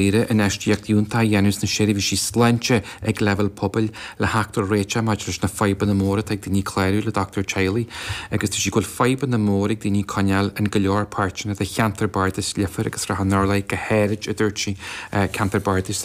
Iarraidh infheistíocht fhiúntach a dhéanamh sna seirbhísí sláinte ag leibhéal pobail le theacht ar réiteach maidir leis na fadhbanna móra atá ag daoine clárú le dochtúir teaghlaigh agus dúirt sí go bhfuil fadhbanna móra ag daoine coinneáil in go leor páirteanna de cheantar bardais Leifear agus Srath an Urláir go háirid, a dúirt sí, ceantar bardais.